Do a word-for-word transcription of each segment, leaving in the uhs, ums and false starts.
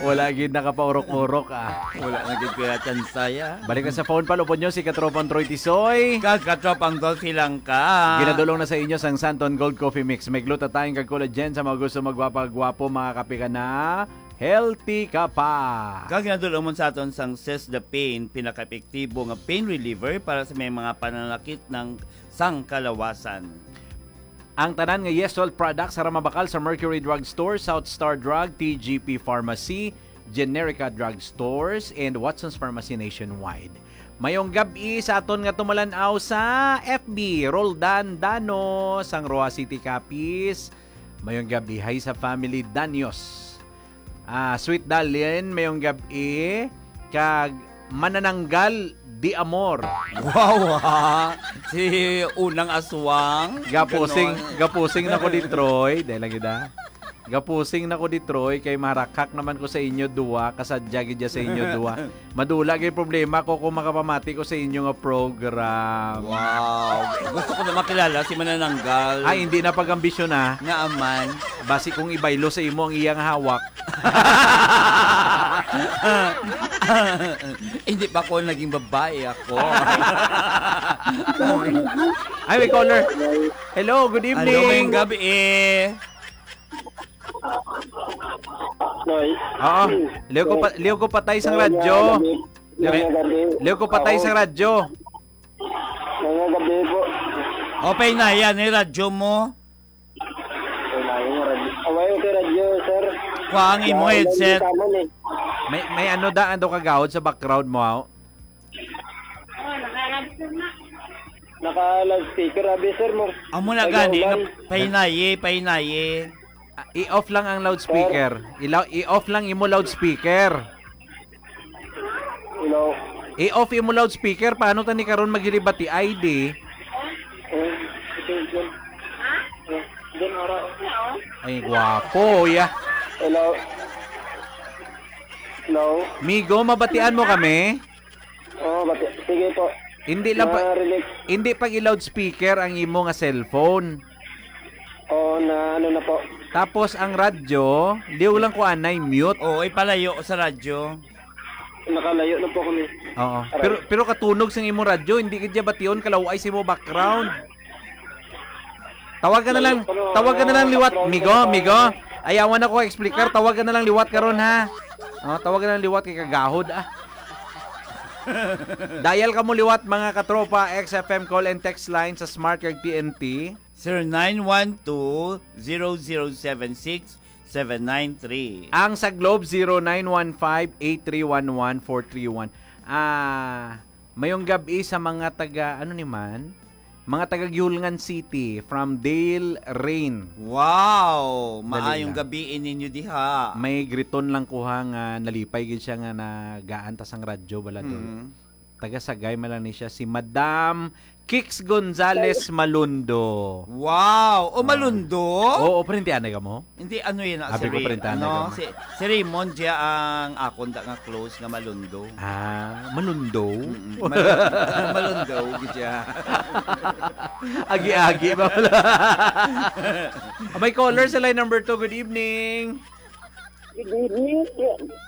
Wala gid nakapaurok-urok, ah. Wala na gid pila tsansaya. Balik na sa phone, palupod nyo si Katropang Troy Tisoy. Kag Katropang Dolphy lang ka. Ginadulong na sa inyo sang Santon Gold Coffee Mix. May glutathione kag collagen sa mga gusto magwapa-gwapo, mga kape ka na. Healthy ka pa. Kag ginadulong mo sa aton sang Sis the Pain, pinaka-epektibo nga pain reliever para sa may mga pananakit ng sang kalawasan. Ang tanan nga Yesol products ara mabakal sa Mercury Drug Store, South Star Drug, T G P Pharmacy, Generica Drug Stores, and Watson's Pharmacy nationwide. Mayong gab-i sa aton nga tumalan-aw sa F B, Roldan Dano, sang Roa City, Capiz. Mayong gab-i, hi sa family Danios. Ah, Sweet Darlene, mayong gab-i. Kag manananggal di amor. Wow, ha? Si unang aswang. Gapusing, ganon. Gapusing na ko di Troy. Dahil lang gid, ah. Gapusing na ko di Troy kay maharakhak naman ko sa inyo duwa, kasadya gid sa inyo duwa. Madula gid problema ko kung makapamati ko sa inyo nga program. Wow. Gusto ko na makilala si Manananggal. Ay, hindi na pag-ambisyon, ah. Nga aman. Basi kung ibaylo sa imo ang iyang hawak. Hindi pa ko naging babae ako. Ay, may caller. Hello, good evening. Hello, mayong gabi eh. Noy. Oo. Liw ko pa, liw ko patay sang radyo. Ngayong gabi. Ngayong gabi. Liw ko patay sang radyo. Ngayong gabi po. Opay na yan, eh, radyo mo. Wala yung radyo. Away, okay, radyo, sir. Kuha ang imo headset. May, may ano da, ano kagawad sa background mo, aw? Naka-loudspeaker, abi, sir, mo. Amo na gani, nga pahinayi, pahinayi. Ah, i-off lang ang loudspeaker. Sir? Ila-, i-off lang imo loudspeaker. Hello. I-off imo loudspeaker. Paano tani karon maghilibati? I D. Eh, ito, ito. Eh, din, ora. Ay, gwapo, ya. Hello. Hello. Migo, mabatian mo kami? Oo, bati-, sige po. Hindi lang pa, hindi pag i-loudspeaker ang imo nga cellphone. Oo, na ano na po. Tapos ang radyo, liw lang ko anay, mute. Oo, ipalayo sa radyo. Nakalayo na po kami. Oo. Aray. Pero, pero katunog sang imo radyo, hindi ka dya bation, kalaw-ay sa imo background. Tawag ka na lang, tawag ka na lang liwat, migo, migo. Ayawan ako explicar, tawag ka na lang liwat karon, ha. Oh, tawag ka na lang liwat kay kagahod, ah. Dial ka mo liwat, mga katropa, X F M call and text line sa Smart kag T N T. Zero nine one two, zero zero seven six, seven nine three. Ang sa Globe, zero nine one five, eight three one one, four three one. Ah, mayong gab-i sa mga taga, ano ni man? Mga taga Giulngan City, from Dale Rain. Wow! Dali lang. Maayong gabi ninyo diha. May griton lang kuha nga nalipay gid siya nga nagaan ta sang radyo, bala, Dol. Mm. Taga Sagay man lang ni siya, si Madam Kix Gonzales Malundo. Wow! O, ah. Malundo? Oo, pero hindi anay ka mo? Hindi, ano yun, ah, si Abi ko, Ray-, printahan na ano, ka mo. Si, si Raymond, siya ang akon da nga close nga Malundo. Ah, Malundo? Mm-mm. Mal-, Malundo, gid siya. Agi-agi ba pala? May caller sa line number two. Good evening. Good evening,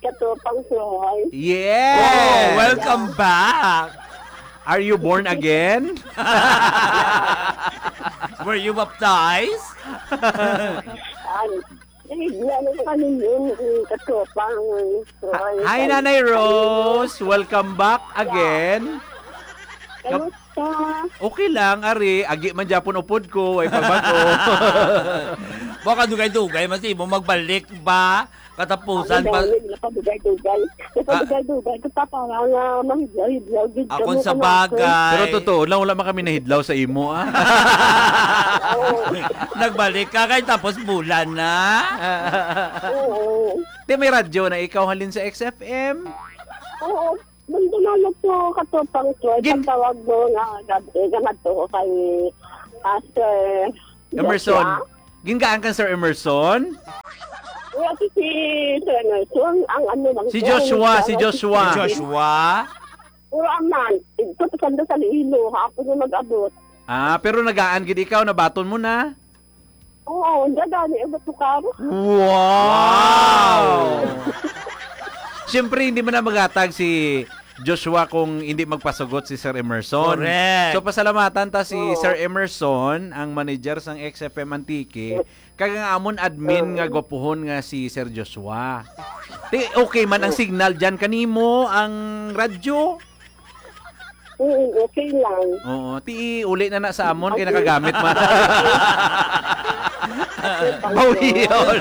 Katropang Troy. Yes! Oh, welcome back! Are you born again? Were you baptized? Ay, nahigla na sa kanilin, eh, Katropang Troy. Hi, Nanay Rose! Welcome back again. Kamusta? Okay lang, ari. Agi man gyapon upod ko, way pagbago. Baka dugay-dugay, mas imo magbalik ba? Katapusan pa. Ako dahil nakadugay-dugay. Ah. Nakadugay-dugay. Kung para nga mahidlaw-hidlaw, gid. Ako kamo sa kanako. Bagay. Pero totoo lang, wala man kami nahidlaw sa imo, ah. Oo. Nagbalik ka kay tapos bulan na. Oo. Di may radyo na ikaw halin sa X F M? Oo. Nandun na lang po, Katropang Troy, gin- pagtawag mo nga gabi, nga madto ko kay Pastor Emerson. Joshua. Gingaan kang Sir Emerson? Wala si, si Sir Emerson, ang ano lang si po, Joshua, ang si Joshua. Si Joshua? Puro aman, ito, pasando sa Iloilo, hapon yung mag-abot. Ah, pero nagaan gid ikaw, nabaton mo na? Oo, ang gagani ang batukar. Wow! Siyempre, hindi man na maghatag si Joshua kung hindi magpasugot si Sir Emerson. Correct. So, pasalamatan ta si Oo. Sir Emerson, ang manager sang X F M Antique, kag ang amon admin nga Oo. gwapuhon nga si Sir Joshua. Ti, okay man ang Oo. signal dyan kanimo, ang radyo? Oo, okay lang. Oo, ti uli na na sa amon kay Okay. nakagamit man. Okay, thank you. Bawion.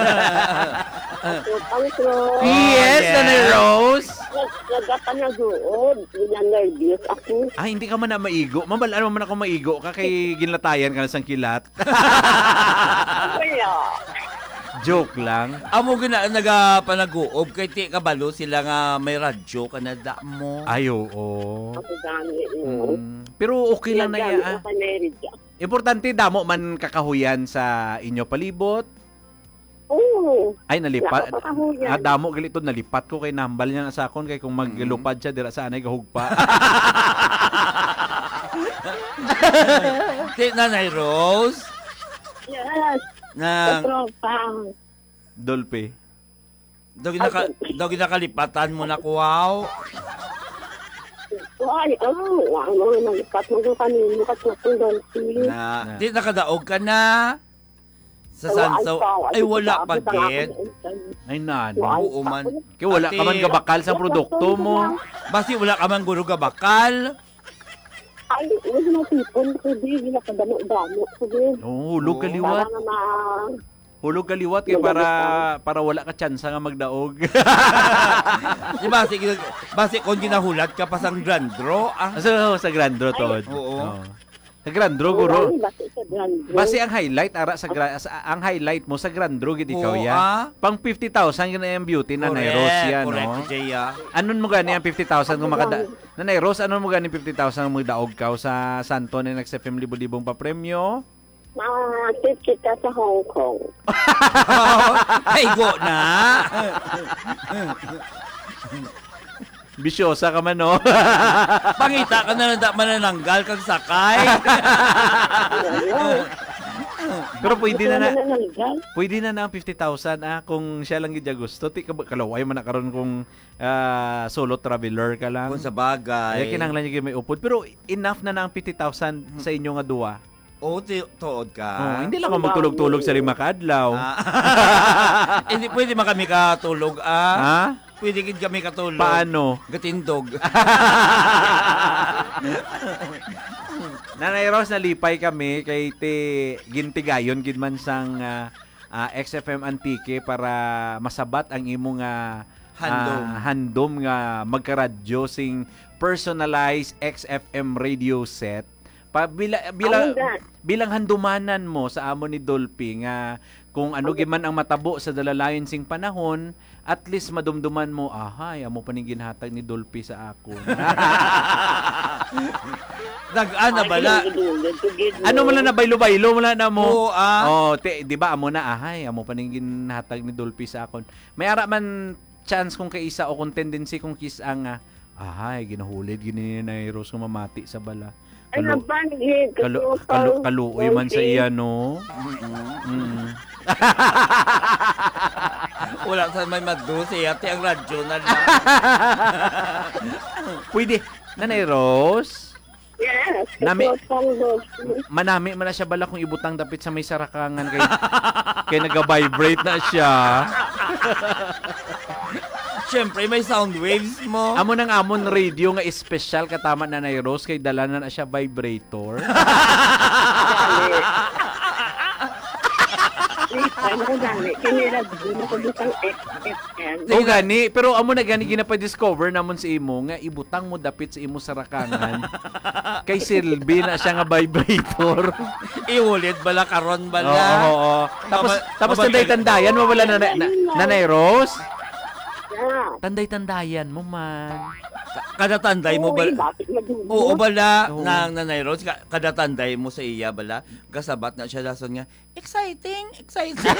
Okay, thank you. Yes, Oh, Nanay yes. Rose. Nag-, nagapanaguod. Gina-nervous ako. Ah, hindi ka man na maigo. Mabal-an mo man ako maigo ka kay ginlatayan ka na sang kilat. Wala. Joke lang. Amo gina nagapanaguob kay ti kabalo sila nga may radyo ka na da mo. Ay, oo. Ako gani, oo. Mm. Pero okay lang na Nagdami iya, ah. ka pa na rin dyan. Importante, damo man kakahuyan sa inyo palibot. Oo. Ay, nalipat. Wala ka pa kahuyan. Ah, damo gali to, nalipat ko kay nahambal niya sa akon kay kung Mm. maglupad siya, dira sa anay gahugpa. Ti, Nanay Rose? Yes. Nang Katropa. Dolphy. Daw ginaka-, Ay, daw ginakalipatan mo na, kuwaw. Ay, oh, ano, nalipat mo sa kanino, Katropa Dolphy? Na, Na. Di nakadaog ka na sa Ay, wa-, Sansaw? Ay, Ay, wala pa, gid. Ay, nano? Wa-, Oo man. Kay wala ka man Ate, gabakal sa produkto mo. Basi wala ka man guro gabakal. Ay, wala na tipon ko, di, wala ka damo-damo ko, di. Oo, hulog Oo. kaliwat. Para nga ma-, Hulog kaliwat kay Hulog para, kaliwat. para wala ka tsansa nga magdaog. Di ba, sige, basi kung ginahulat ka pa sang Grand Draw, ah. Sa, sa Grand Draw, Ay. Tod. Oo. Oo. Sa Grand Draw, Oo, guro. Ay, basi sa Grand Draw. Basi ang highlight, ara, sa gra-, sa, ang highlight mo sa Grand Draw, gid ikaw, Oo, ya. ah. Pang fifty thousand yun na yung beauty na Correct, Nairos, ya, no? correct, Jay, ah. Anon mo gani ang fifty thousand kung Ako makada-, lang. Nanay Rose, ano mo ganing fifty thousand ang magdaog ka sa Santo ni Next F M libo-libong papremyo? Makakit kita sa Hong Kong. Ay, go na. Bisyosa ka man, no? Pangita ka na lang, da manananggal kag sakay. Pero pwede Gusto na na, na nananggal. pwede na na ang fifty thousand, ah, kung siya lang gid siya gusto. Ti, kab-, kalaway man na karon kung ah, solo traveler ka lang. Kung sa bagay. Kaya kinahanglan niya may upod. Pero enough na na ang fifty thousand sa inyo nga duwa. Oo, ti-, tuod ka. Oh, hindi lang ako Ang magtulog-tulog dami. sa lima ka adlaw. Ah. Hindi pwede man kami katulog, ah. Ha? Pwede gid kami katulog. Paano? Gatindog. Nanay Rose, nalipay kami kay ti gintigayon gid man sang, ah, ah, X F M Antique para masabat ang imo nga, Handom. ah, handom nga magkaradyo sing personalized X F M radio set. Pa, bila, bila, Ang ga- bilang handumanan mo sa amo ni Dolphy nga kung ano Ang gid man ang matabo sa dalalayon sing panahon, at least madumduman mo, "Ahay, amo pa ning ginhatag ni Dolphy sa akon." Nag-ana Ay, bala. Pinagdulog ko gid, Ano no? mo lang na baylo-baylo mo lang na mo? Oo, ah. Oh, ti-, di ba amo na, "Ahay, amo pa ning ginhatag ni Dolphy sa akon." May ara man chance kung kaisa o kung tendency kung kis-a nga, "Ahay, ginahulid gini ni Nanay Rose nga mamati sa bala." Ay, Kalu-, nabanggit. kalu-, Katropa kalu-, kaluoy man sa Dolphy. iya, no? Mm. Mm. Wala sa may madto siya, ti ang radyo na lang. Pwede, Nanay Rose? Yes, Nami-, Katropa Dolphy. manami man na siya bala kung ibutang dapit sa may sarakangan kay, kay nag-vibrate na siya. Siyempre, may sound waves mo. Amo nang amon radio nga espesyal katama, Nanay Rose, kay dala na na siya vibrator. Ay, ano gani? Kini radyo na ko bitang X F M. O gani, pero amo na gani ginapa-discover namon sa imo nga ibutang mo dapit sa imo sarakangan. Kay silbi na siya nga vibrator. Iulid bala karon bala. Oo, oo. Tapos, Mabal-, tapos mabal-, tanday-tandayan mo bala na, na, na, Nanay Rose? Yeah. Tanday-tandayan mo man. Ka-, kada tanday mo Oo, bala. eh, bakit madungog? Oo, bala. Oo. Nang Nanay Rose, ka-, kada tanday mo sa iya bala, gasabat na siya dason nga, "Exciting, exciting."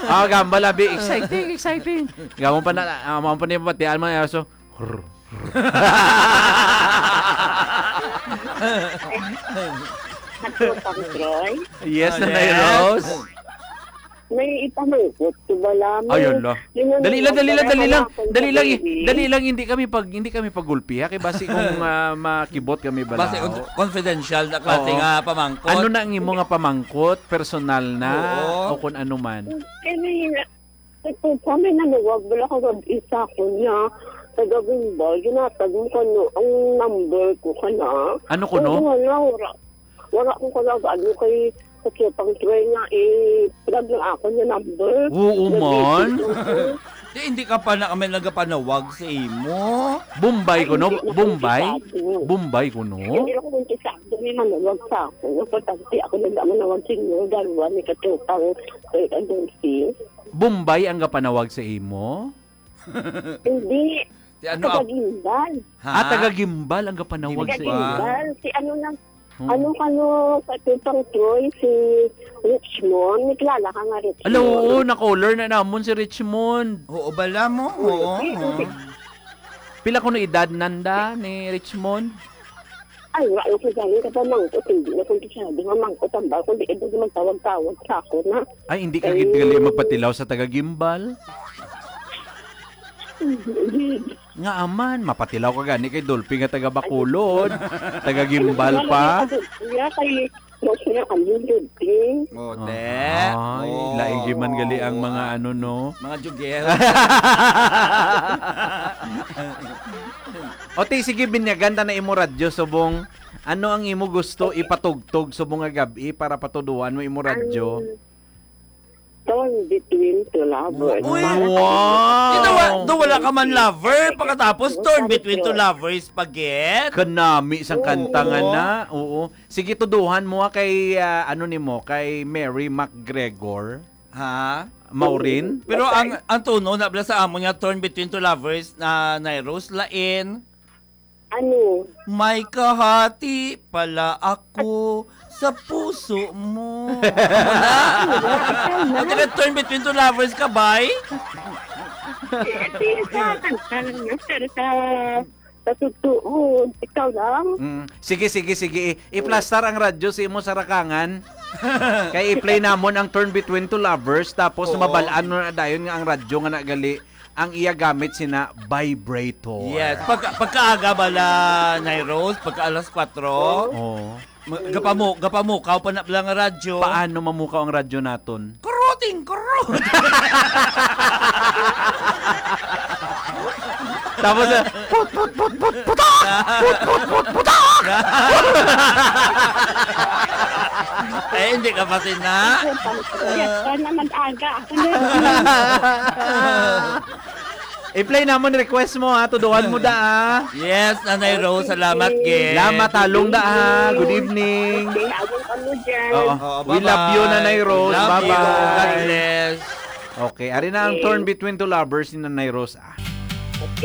Ah, gambal, abi. Exciting, exciting. Gamon pa na, ah, mo pa niya pati, alma, aso. Hrr, hrr. Katropang Troy. Yes, Ah, Nanay yes. Rose. May ipamangkot ko bala. Ay, May hala. Dali lang, dali lang, dali lang. Dali lang, i- dali lang, hindi kami pag, hindi kami paggulpi, ha? Kay basi kung, ah, makibot kami bala. Basi un- confidential na klase Oo. nga pamangkot. Ano na ang imo nga pamangkot? Personal na? Oo. O kung ano man? Kaya may na, ito, kami naluwag, wala ka gab-, isa ko niya. Taga Gumbay, ginatag mo kano ang number ko ka na. Ano kuno? Oo, wala, wala. Wala ko kalagaan mo kay sa Tropang Troy nga, eh, plug lang ako niya number. Oo, man. Nag-message ako. Di, hindi ka pa na kami nagapanawag sa imo. Bombay Ay, ko, no? hindi na Bombay? Komplikado. Bombay ko, no? Hindi ako komplikado. May manawag sa ako. Importante ako na naman nawag sa inyo. Dalawa ni Katropang Troy Adolfis. Bombay ang gapanawag sa imo? Hindi. Si ano? Taga Guimbal. Ha? Ah, taga Guimbal ang gapanawag sa imo. Taga Guimbal. Si ano lang, Hmm. Ano kano sa Tropang Troy, si Richmond? May kilala ka nga, Richmond? Ala, oo, na-caller na namon si Richmond. Oo, bala mo? Oo, Oo, oo. si, si Pila kuno edad nanda ni Richmond? Ay, wala ko gani ka pamangkot. Hindi na kung siya, di mamangkot ang ba? Kundi ito, di magtawag-tawag sa ako na. Ay, hindi ka Ay. gid gali magpatilaw sa taga Guimbal? Hindi. Nga aman, mapatilaw ka gani kay Dolphy nga taga Bacolod, taga Gimbal pa. Kaya kay, mas na kami, Dolphy. Oh, Ah, te. ay, Oh. lain gyud man gali ang mga ano, no? Mga jugel. O, te, sige, binyagan ta na imo radyo, subong. Ano ang imo gusto Okay. ipatugtog subong nga gab-i para patuduan mo imo radyo? Ang Torn Between Two Lovers. Uy, Para sa wow! Di daw wa-, daw wala ka man lover, pagkatapos Torn Between Two Lovers pa gid? Kanami sang kanta nga Oo. na. Oo. Sige, tuduhan mo, ah, kay, ah, ano nimo, kay Mary McGregor. Ha? Maureen? Pero ang, ang tono na bala sa amon nga Torn Between Two Lovers na Nay Rose lain. Ano? May kahati pala ako sa puso mo. Amo na. Ikaw na. O, taga Torn Between Two Lovers ka, bay? Eh, di sa kanta lang na, pero sa, sa totoo, ikaw lang. Mm. Sige, sige, sige. I-, i-plastar ang radyo sa imo sarakangan. Kay i-play namon ang Torn Between Two Lovers, tapos Oo. mabalaan mo na dayon nga ang radyo nga nagali ang iya gamit sina vibrator. Yes, pagka, pagkaaga bala, Nay Rose, pagka alas kwatro, Oo. ma-, gapamu-, gapamukaw pa na lang ang radyo. Paano mamukaw ang radyo naton? Kuruting kurut! Tapos, ah, put, put, put, put, putok! Put, put, put, putok! Eh, hindi ka pa sina? Yes, sana mag-aga. I-play namon request mo, ha. Tuduhan mo da, ha. Yes, Nanay Rose, salamat, gid. Salamat, halong da, ha. Good evening. Okay, halong kamo dyan. Oo. Oo, We love you, bye-bye. Nanay Rose. Love you. Bye-bye. God bless. Okay, ari na ang Okay. Torn Between Two Lovers ni Nanay Rose, ah. Okay.